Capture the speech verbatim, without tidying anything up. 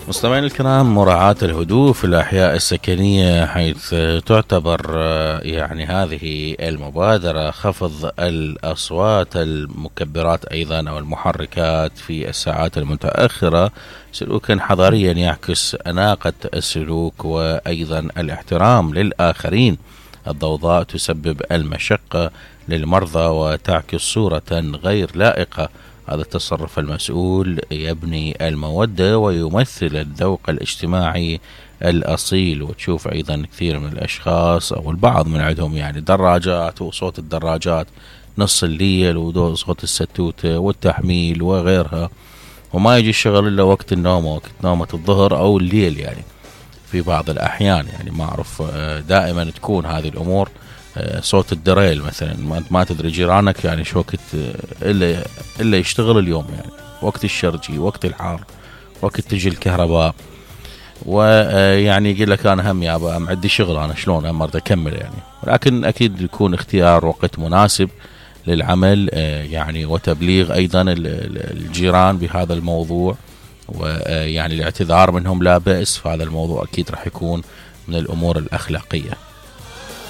مستمعين الكرام، مراعاة الهدوء في الأحياء السكنية، حيث تعتبر يعني هذه المبادرة خفض الأصوات المكبرات أيضا أو المحركات في الساعات المتأخرة سلوكا حضاريا يعكس أناقة السلوك وأيضا الاحترام للآخرين. الضوضاء تسبب المشقة للمرضى وتعكس صورة غير لائقة. هذا التصرف المسؤول يبني المودة ويمثل الذوق الاجتماعي الأصيل. وتشوف أيضا كثير من الأشخاص أو البعض من عندهم يعني دراجات، وصوت الدراجات نص الليل وصوت الستوتة والتحميل وغيرها، وما يجي الشغل إلا وقت النوم، وقت نومة الظهر أو الليل. يعني في بعض الأحيان يعني ما أعرف، دائما تكون هذه الأمور. صوت الدريل مثلا، ما انت ما تدري جيرانك يعني شو وقت الا الا يشتغل اليوم، يعني وقت الشرجي، وقت الحار، وقت تجي الكهرباء، ويعني يقول لك انا هم يابا عندي شغل، انا شلون هم اريد اكمل يعني. ولكن اكيد يكون اختيار وقت مناسب للعمل يعني، وتبليغ ايضا الجيران بهذا الموضوع، ويعني الاعتذار منهم لا بأس في هذا الموضوع اكيد راح يكون من الامور الاخلاقيه.